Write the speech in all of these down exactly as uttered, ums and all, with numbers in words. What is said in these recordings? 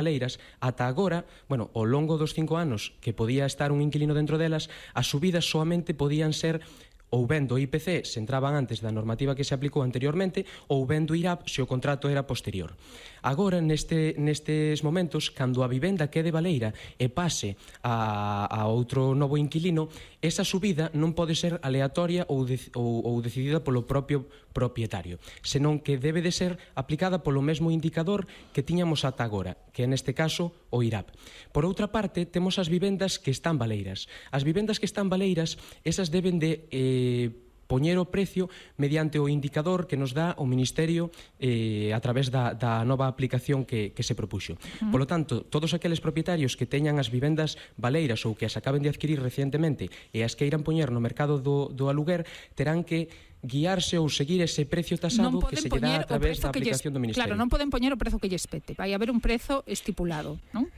baleiras, ata agora, bueno, ao longo dos cinco anos que podía estar un inquilino dentro delas, as subidas soamente podían ser ou ben do I P C se entraban antes da normativa que se aplicou anteriormente, ou ben do I R A P se o contrato era posterior. Agora, neste, nestes momentos, cando a vivenda quede baleira e pase a, a outro novo inquilino, esa subida non pode ser aleatoria ou, de, ou, ou decidida polo propio propietario, senón que debe de ser aplicada polo mesmo indicador que tiñamos ata agora, que é neste caso o I R A P. Por outra parte, temos as vivendas que están baleiras. As vivendas que están baleiras, esas deben de eh, poñer o precio mediante o indicador que nos dá o Ministerio eh, a través da, da nova aplicación que, que se propuxo. Uh-huh. Por lo tanto, todos aqueles propietarios que teñan as vivendas baleiras ou que as acaben de adquirir recientemente e as queiran poñer no mercado do, do aluguer, terán que guiarse ou seguir ese precio tasado que se lle dá a través da aplicación do Ministerio. Claro, non poden poñer o prezo que lles pete. Vai haber un prezo estipulado, non?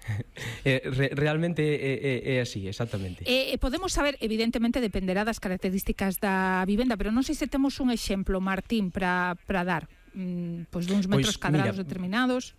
eh, re, realmente é, é, é así, exactamente. Eh, podemos saber, evidentemente, dependerá das características da vivenda, pero non sei se temos un exemplo, Martín, para dar, mm, pois duns metros pues, cadrados mira, determinados.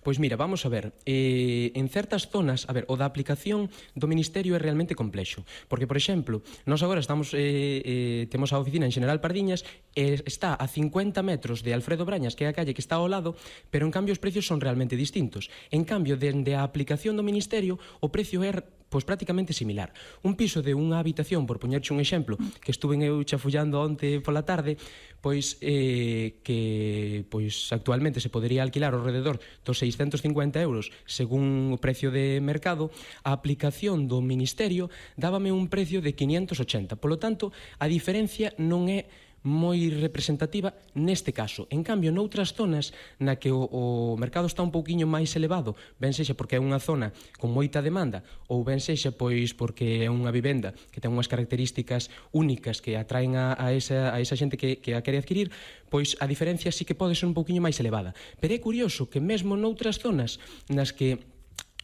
Pois mira, vamos a ver, eh, en certas zonas, a ver, o da aplicación do Ministerio é realmente complexo, porque, por exemplo, nós agora estamos, eh, eh, temos a oficina en General Pardiñas e está a cincuenta metros de Alfredo Brañas, que é a calle que está ao lado, pero en cambio os precios son realmente distintos. En cambio, dende a aplicación do Ministerio, o precio é pois prácticamente similar. Un piso de unha habitación, por poñerche un exemplo, que estuve eu chafullando onte pola tarde, pois eh, que pois actualmente se podería alquilar ao rededor dos seiscentos cincuenta euros según o precio de mercado, a aplicación do Ministerio dábame un precio de quinientos ochenta. Polo tanto, a diferencia non é moi representativa neste caso. En cambio, noutras zonas na que o, o mercado está un pouquiño máis elevado, ben sexa porque é unha zona con moita demanda ou ben sexa pois porque é unha vivenda que ten unhas características únicas que atraen a, a, esa, a esa xente que, que a quere adquirir, pois a diferencia sí que pode ser un pouquiño máis elevada. Pero é curioso que mesmo noutras zonas nas que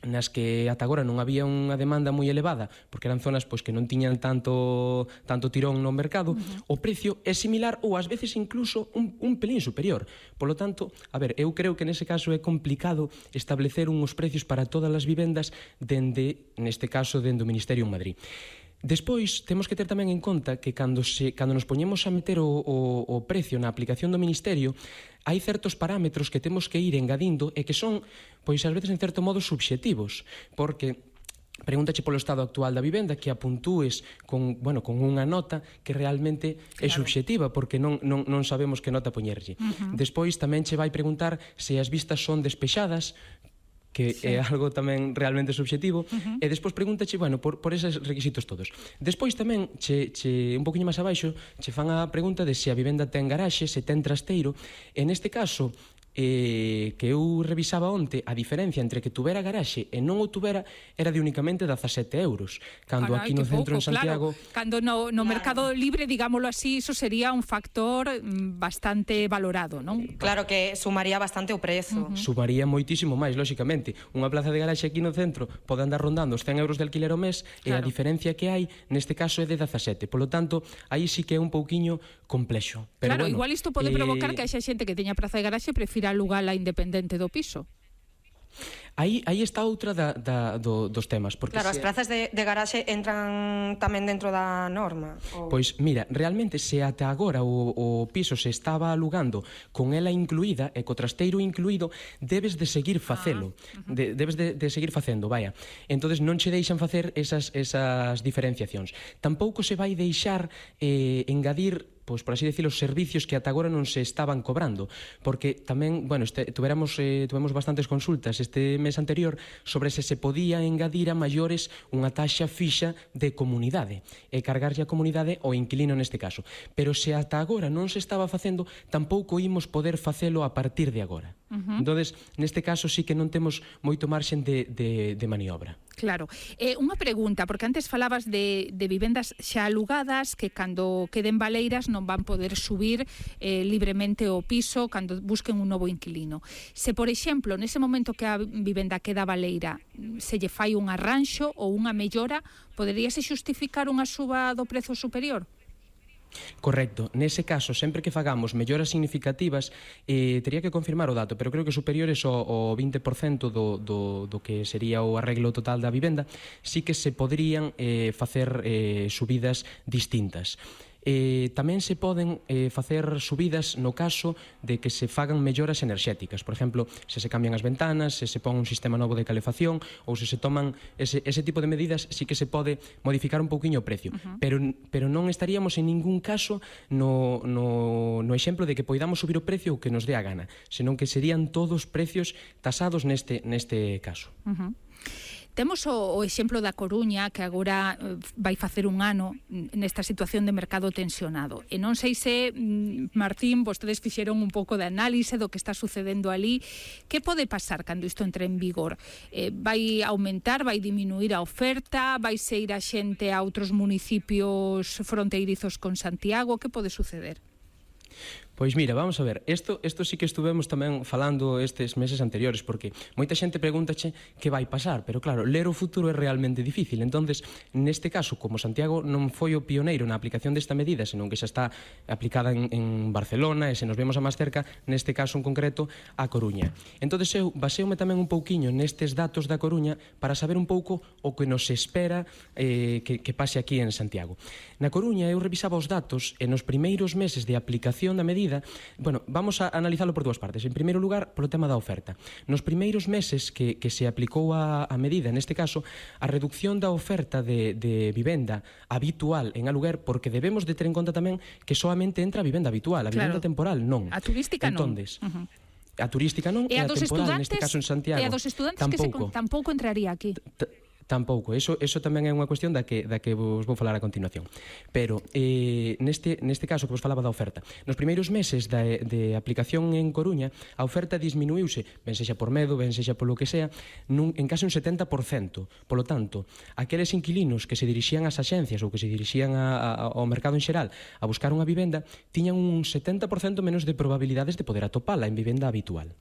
nas que ata agora non había unha demanda moi elevada, porque eran zonas pois que non tiñan tanto tanto tirón no mercado, uh-huh. o precio é similar ou ás veces incluso un, un pelín superior. Polo tanto, a ver, eu creo que nese caso é complicado establecer uns precios para todas as vivendas dende, neste caso, dende o Ministerio en Madrid. Despois, temos que ter tamén en conta que cando, se, cando nos poñemos a meter o, o, o precio na aplicación do Ministerio, hai certos parámetros que temos que ir engadindo e que son, pois, ás veces, en certo modo, subxetivos, porque pregúntache polo estado actual da vivenda, que a puntúes con, bueno, con unha nota que realmente claro. é subxetiva, porque non, non, non sabemos que nota poñerlle. Uh-huh. Despois tamén che vai preguntar se as vistas son despexadas, que sí. é algo tamén realmente subxetivo, uh-huh. e despois pregúntache, bueno, por, por eses requisitos todos. Despois tamén, che, che, un poquinho máis abaixo, che fan a pregunta de se a vivenda ten garaxe, se ten trasteiro, e neste caso, eh, que eu revisaba onte, a diferencia entre que tuvera garaxe e non o tuvera era de únicamente dezasete euros, cando Carai, aquí no centro pouco, en Santiago claro. Cando no, no claro. mercado libre, digámoslo así, iso sería un factor bastante valorado, non? Claro que sumaría bastante o prezo. Uh-huh. Sumaría moitísimo máis, lóxicamente. Unha plaza de garaxe aquí no centro pode andar rondando os cen euros de alquiler ao mes, claro. e a diferencia que hai neste caso é de dezasete. Polo tanto, aí sí que é un pouquiño complexo. Pero claro, bueno, igual isto pode eh... provocar que haxa xente que teña praza de garaxe prefira alugar a independente do piso. Aí, aí está outra da, da, do, dos temas. Porque claro, se... as prazas de, de garaxe entran tamén dentro da norma. Ou... Pois mira, realmente se ata agora o, o piso se estaba alugando con ela incluída e co trasteiro incluído, debes de seguir facelo. Ah, uh-huh. de, debes de, de seguir facendo, vaya. Entonces non che deixan facer esas, esas diferenciacións. Tampouco se vai deixar eh, engadir, pois por así decirlo, os servicios que ata agora non se estaban cobrando, porque tamén, bueno, este, tuveramos, eh, tuvemos bastantes consultas este mes anterior sobre se se podía engadir a maiores unha taxa fixa de comunidade e cargarlle a comunidade ao inquilino neste caso, pero se ata agora non se estaba facendo, tampouco imos poder facelo a partir de agora. Uh-huh. Entonces, neste caso sí que non temos moito marxen de, de, de maniobra. Claro. Eh, unha pregunta, porque antes falabas de, de vivendas xa alugadas que cando queden baleiras non van poder subir eh, libremente o piso cando busquen un novo inquilino. Se, por exemplo, nese momento que a vivenda queda baleira, se lle fai un arranxo ou unha mellora, poderíase xustificar unha suba do prezo superior? Correcto. Nese caso, sempre que fagamos melloras significativas, eh, tería que confirmar o dato, pero creo que superiores ao, ao vinte por cento do, do, do que sería o arreglo total da vivenda, sí que se poderían eh, facer eh, subidas distintas. Eh, tamén se poden eh, facer subidas no caso de que se fagan melloras enerxéticas. Por exemplo, se se cambian as ventanas, se se pon un sistema novo de calefacción ou se se toman ese, ese tipo de medidas, sí que se pode modificar un pouquiño o precio. Uh-huh. pero, pero non estaríamos en ningún caso no, no, no exemplo de que poidamos subir o precio o que nos dé a gana, senón que serían todos precios tasados neste, neste caso. Uh-huh. Temos o, o exemplo da Coruña, que agora eh, vai facer un ano nesta situación de mercado tensionado. E non sei se, Martín, vostedes fixeron un pouco de análise do que está sucedendo ali. Que pode pasar cando isto entre en vigor? Eh, vai aumentar, vai diminuir a oferta? Vai se ir a xente a outros municipios fronteirizos con Santiago? Que pode suceder? Pois mira, vamos a ver, isto, isto sí que estuvemos tamén falando estes meses anteriores, porque moita xente pregúntache que vai pasar, pero claro, ler o futuro é realmente difícil. Entonces, neste caso, como Santiago non foi o pioneiro na aplicación desta medida, senón que xa está aplicada en, en Barcelona, e se nos vemos a máis cerca, neste caso en concreto, a Coruña. Entonces eu baseome tamén un pouquiño nestes datos da Coruña para saber un pouco o que nos espera eh, que, que pase aquí en Santiago. Na Coruña eu revisaba os datos e nos primeiros meses de aplicación da medida. Bueno, vamos a analizalo por dúas partes. En primeiro lugar, polo tema da oferta. Nos primeiros meses que, que se aplicou a, a medida, neste caso, a reducción da oferta de, de vivenda habitual en aluguer, porque debemos de ter en conta tamén que solamente entra a vivenda habitual, a vivenda claro. temporal non. A turística Entonces, non. Uh-huh. A turística non e, e a, a temporal, neste caso en Santiago. E a dos estudantes tampouco. que se, tampouco entraría aquí. T Tampouco, eso, eso tamén é unha cuestión da que, da que vos vou falar a continuación. Pero eh, neste, neste caso que vos falaba da oferta, nos primeiros meses de, de aplicación en Coruña, a oferta disminuíuse, ben sexa por medo, ben sexa polo que sea, nun, en case un setenta por cento. Polo tanto, aqueles inquilinos que se dirixían ás axencias ou que se dirixían a, a, ao mercado en xeral a buscar unha vivenda, tiñan un setenta por cento menos de probabilidades de poder atopala en vivenda habitual.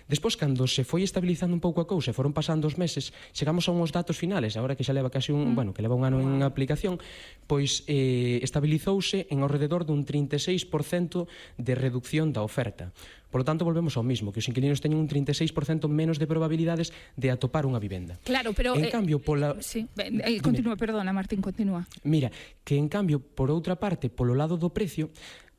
Despois, cando se foi estabilizando un pouco a cousa e foron pasando os meses, chegamos a uns datos finales, agora que xa leva casi un, mm. bueno, que leva un ano en aplicación, pois eh, estabilizouse en ao rededor dun trinta e seis por cento de reducción da oferta. Por lo tanto, volvemos ao mismo, que os inquilinos teñen un trinta e seis por cento menos de probabilidades de atopar unha vivenda. Claro, pero... En eh, cambio, pola... Sí, eh, continúa, perdona, Martín, continúa. Mira, que en cambio, por outra parte, polo lado do precio,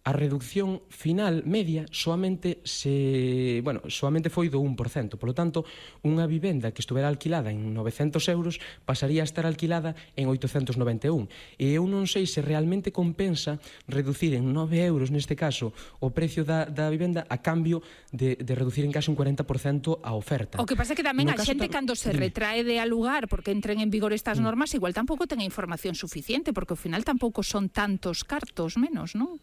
a reducción final media soamente se, bueno, soamente foi do un por cento. Por lo tanto, unha vivenda que estuvera alquilada en novecentos euros pasaría a estar alquilada en oitocentos noventa e un. E eu non sei se realmente compensa reducir en nove euros, neste caso, o precio da, da vivenda a cambio de, de reducir en case un cuarenta por cento a oferta. O que pasa é que tamén no a xente cando se retrae de alugar porque entren en vigor estas normas, igual tampouco ten a información suficiente, porque ao final tampouco son tantos cartos menos, non?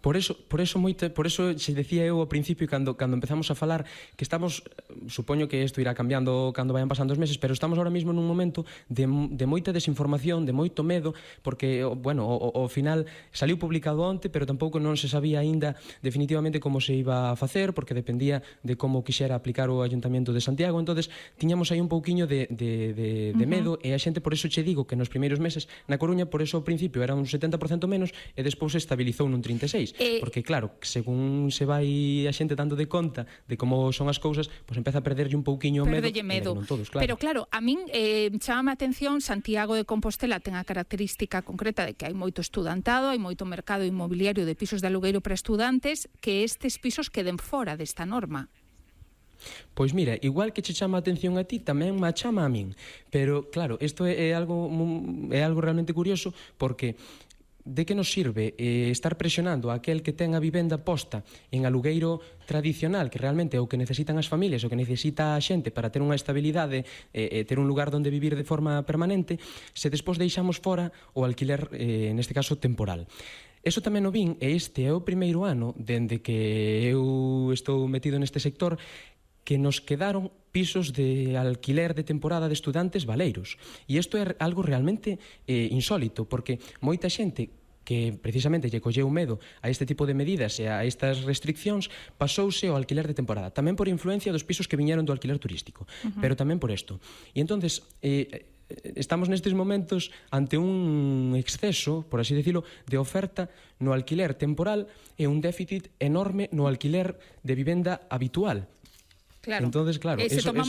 Por eso, por eso moita, por eso se decía eu ao principio cando cando empezamos a falar que estamos, supoño que isto irá cambiando cando vayan pasando os meses, pero estamos ahora mismo nun momento de, de moita desinformación, de moito medo, porque, bueno, ao final saliu publicado onte, pero tampouco non se sabía aínda definitivamente como se iba a facer, porque dependía de como quixera aplicar o Ayuntamento de Santiago. Entonces tiñamos aí un pouquiño de, de, de, de medo, uh-huh. e a xente, por eso che digo que nos primeiros meses na Coruña, por eso ao principio era un setenta por cento menos e despois se estabilizou nun trinta e seis por cento. Eh, porque claro, según se vai a xente dando de conta de como son as cousas, pois empeza a perderlle un pouquiño o medo, medo. Non todos, claro. Pero claro, a min eh, chama a atención, Santiago de Compostela ten a característica concreta de que hai moito estudantado, hai moito mercado inmobiliario de pisos de alugueiro para estudantes, que estes pisos queden fora desta norma. Pois mira, igual que che chama a atención a ti, tamén me chama a min. Pero claro, isto é, é algo é algo realmente curioso, porque de que nos sirve eh, estar presionando a aquel que ten a vivenda posta en alugueiro tradicional, que realmente é o que necesitan as familias, o que necesita a xente para ter unha estabilidade e eh, ter un lugar onde vivir de forma permanente, se despois deixamos fora o alquiler, eh, neste caso, temporal. Eso tamén o vin, e este é o primeiro ano dende que eu estou metido neste sector, que nos quedaron pisos de alquiler de temporada de estudantes baleiros. E isto é algo realmente eh, insólito, porque moita xente que precisamente lle colleu medo a este tipo de medidas e a estas restriccións, pasouse ao alquiler de temporada, tamén por influencia dos pisos que viñeron do alquiler turístico, uh-huh. pero tamén por isto. E entonces, eh, estamos nestes momentos ante un exceso, por así decirlo, de oferta no alquiler temporal e un déficit enorme no alquiler de vivenda habitual. Claro. Entonces, claro, eh, se eso, tomamos